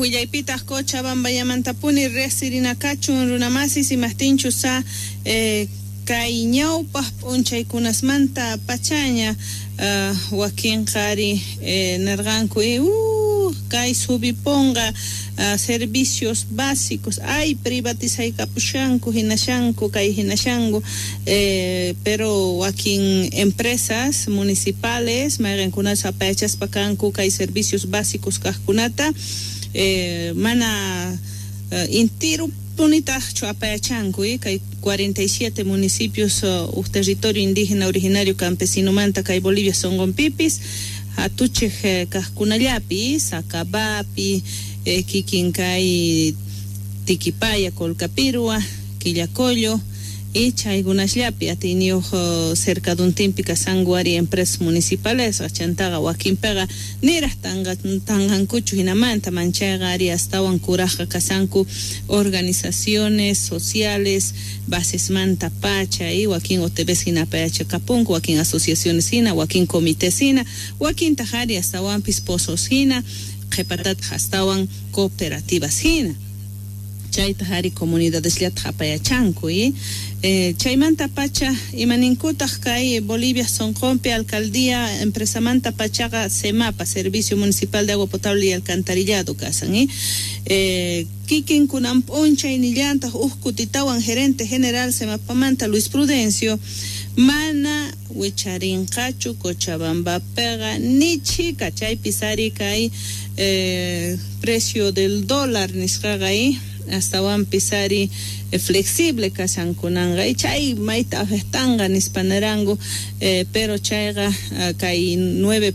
Willaypitaj Cochabambayamantapuni riqsirinakachun runamasis imajtinchus kay ñawpaq p'unchaykunasmanta pachaña wakinqa ari nerqanku kay subiponqa servicios básicos ay privatizaykapushanku hinashanku kay hinashanku pero wakin empresas municipales mayqinkunas apayachaspa kanku kay servicios básicos kaqkunata mana intirupunitaqchu apayachanku kay 47 municipios uj territorio indígena originario campesinomanta kay Bolivia sonqonpipis hatuchej kaqkunallapi Sacabapi kikin kay Tiquipaya, Colcapirhua, Quillacollo y chaykunasllapi atiyniyuq cercaduntinpi kashanku ari empresas municipales chantaqa wakinpiqa niraj tanqankuchu hinamanta manchayqa ari astawan kurajqa kashanku organizaciones sociales basesmanta pacha y wakin OTBs hina apayachakapunku wakin asociaciones hina wakin comités hina wakintaq ari astawanpis pozos hina qhipatataq astawan cooperativas hina chaytaq ari comunidadesllataj apayachanku chaymanta pacha imaninkutaq kay Bolivia sonqonpi alcaldía empresamanta pachaqa SEMAPA Servicio Municipal de Agua Potable y Alcantarillado kasan kikin kunan p'unchay nillantaq uj kutitawan gerente general SEMAPamanta Luis Prudencio mana wicharinqachu Cochabambapiqa ni chhika chaypis ari kay precio del dólar nisqaqa astawanpis ari flexible kashankunanqa chay mayta afectanqa nispa niranku pero chayqa kay 9.